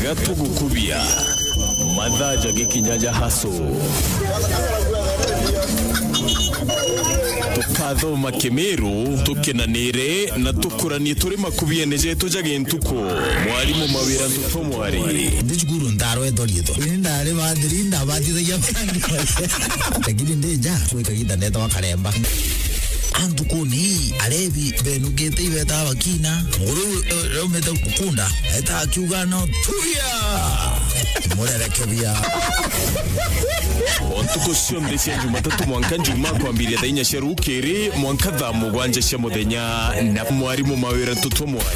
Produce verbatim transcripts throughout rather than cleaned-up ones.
Gatugukubia. Mathaa jagikinya ja haso. Tukathoma Kimiru, tukenanire na tukuranie turi makubiene jetu ja gintuku. Mwarimu Mawira Ntutu Mwari. Ndi cukuru ntarwetwa riitwa. Ini ndari bathiri, ndabatithagia marangi. Lakini ndi nja, twi kagiita ndeetagwa Karemba. Antu kuni, arebi, benukite ibeta bakina. Muguru, eh, raumite kunda, eta akiuga no, tuya! Murerekebia. O ntuku cionthe cia Jumatatu mwanka Njumaa kwambiria thaa inya cia rukiri mwanka thaa mugwanja cia muthenya na mwarimu Mawira Ntutu Mwari.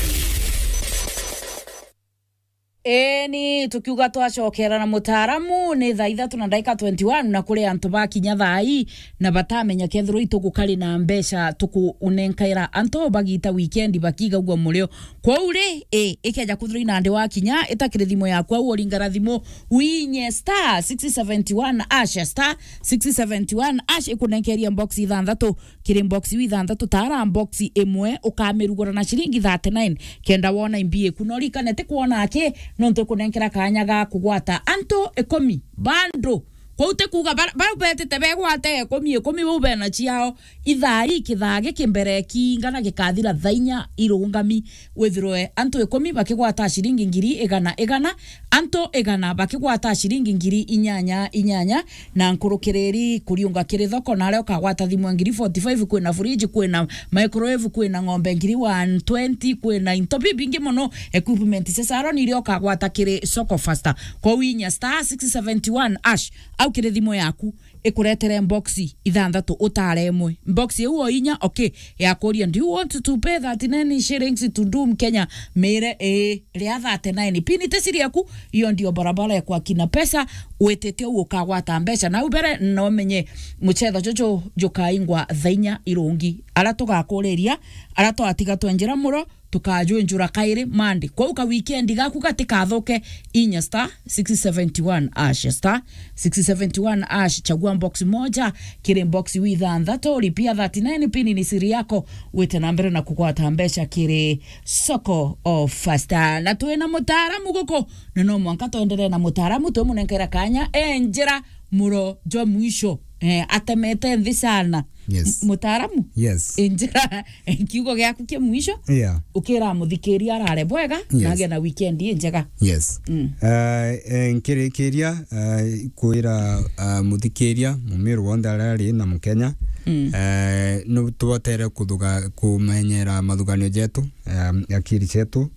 Eni, tukiuga twacokera na mutaaramu, ni thaa ithatu na ndaika twenty-one, na kuri antu bakinya thaa ii na batamenya kethirwa itugukari na mbeca tukunenkaira antu bagita weekend bakigagua murio. Kwou ri, i, ikeja kwithirwa inandi wakinya, ita kiri thimu yaku au uringara thimu, winye star six seventy one hash, star six seventy one hash, ikunenkeria box ithanthatu. Kiri box iu ithanthatu, taara box imwe, ukamirugura na ciringi thirty-nine, kenda wona imbi iku. No rikane ti kwona aki, nontu ikunenkera kanya ga kugwata antu ikumi bando. Kwou ti kuuga bara-, bara betite begwate ikumi, ikumi bau bena ciao. Ithaa ii kithaa giki mbere kiingana gikathira thaa inya irungami, withirwe antu ikumi bakigwata ciringi ngiri igana igana, antu igana bakigwata ciringi ngiri inyanya inyanya, na nkurukiriri kuriunga kiri thoko, na aria ukagwata thimu ya ngiri forty-five, kwina fridge, kwina microwave, kwina ng'ombe ngiri one twenty, kwina into bibingi mono, equipment cia salon iria ukagwata kiri Soko Faster. Kwou inya star six seventy one hash au kiri thimu yaku, ikuretere box ithanthatu utare imwe. Box iu o inya, okay, yakuria, "Do you want to pay thirty-nine shillings to Doom Kenya?" Mire, "Ii, ria thirty-nine." Pin ti siri yaku, iyo ndio barabara ya kwakina pesa, witite u ukagwata mbeca. Na u mbere no menye mucetho juju jukaingwa thaa inya irungi. Ara tugakuriria, ara twatiga twenjera muro, tukajwenjura kairi Monday. Kwou ka weekend gaku gatikathuke, inya star six seventy one hash, star six seventy one hash, chagua box moja kiri box iu ithanthatu, lipia thirty-nine, pin ni siri yako, wite na mbere na kugwata mbeca kiri Soko Faster. Na twina mutaaramu guku, na no mwanka twenderee na mutaaramu, twimunenkera kanya enjera muro jwa mwisho. Eh, atemete nthi sana. Yes. M-, mutaaramu? Yes. Enjera kiugo giaku kia mwisho. Yeah. Ukira muthikiria arare bwega, yes, na agie na weekend injega. Yes. Mm. Eh, eh, nkirikiria, eh, kwira, eh, muthikiria, mumiru wonthe aria ari na Mukenya, mm, eh, no tubotere kuthuga-, kumenyera mathuganio jetu, eh, akiri cetu,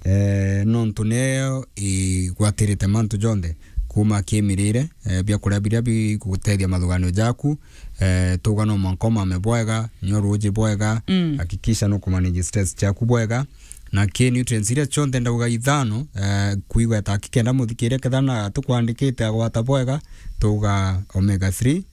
eh, nontu niyo igwatirite mantu jonthe, kuma kimirire, eh, biakuria biria bigutethia mathuganio jaku, eh, tuga no mwanka umame bwega, nyua ruuji bwega, mm, hakikisha nukumanage stress ciaku bwega, na ki nutrients iria cionthe ndauga ithano, eh, kuigweta aki kenda muthikiria kethira na tukwandikite agwata bwega, tuga omega three,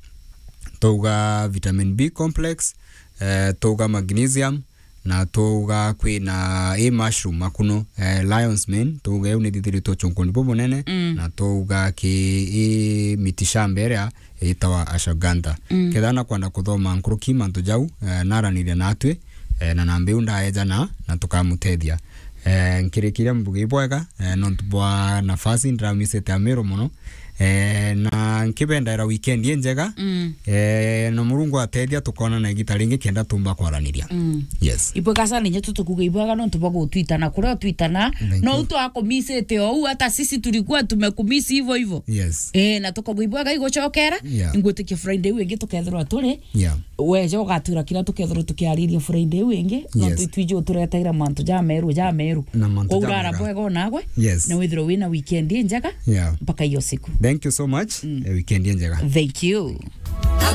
tuga vitamin B complex, eh, tuga magnesium, na tuga kwina i mushroom makuno, eh, lion's mane, tuga iu ni thithiritwe uchunkuni bubunene, mm, na tuga ki i miti shamba iria itawa ashwagandha. Mm. Kethira na kwenda kuthoma nkuruki mantu jau, eh, naraniria natwi, eh, na namba iu ndaejana na tukamutethia. Eh, nkirikiria mbuge ibwega, eh, nontu bwa nafasi, ndiramisite Amiru mono. Eh, na nkibendaira weekend injega. Mm. Eh, na Murungu atethia tukonana igita ringi kenda tumba kwaraniria. Mm. Yes. Ibwega sana, inye tutukuge ibwega nontu bwa gutwitana. Kuria utwitana, thank you, no utwakumisite ou, hata sisi tulikuwa tumekumisi hivyo hivyo. Yes. Eh, na tukaugwa ibwega igucokera, yeah, ngwitikia Friday iu ingi tukethirwa turi. Yeah. Weja ugatura kira tukethirwa tukiariria Friday iu ingi, nontu, yes, itwiji utureteire mantu ja meru, ja meru. Na mantu ja mega. Kwou rara bwega onagwe, yes, na withirwe wina weekend injega, yeah, mpaka iyo siku. Thank you so much. Mm. Eh, weekend injega. Thank you.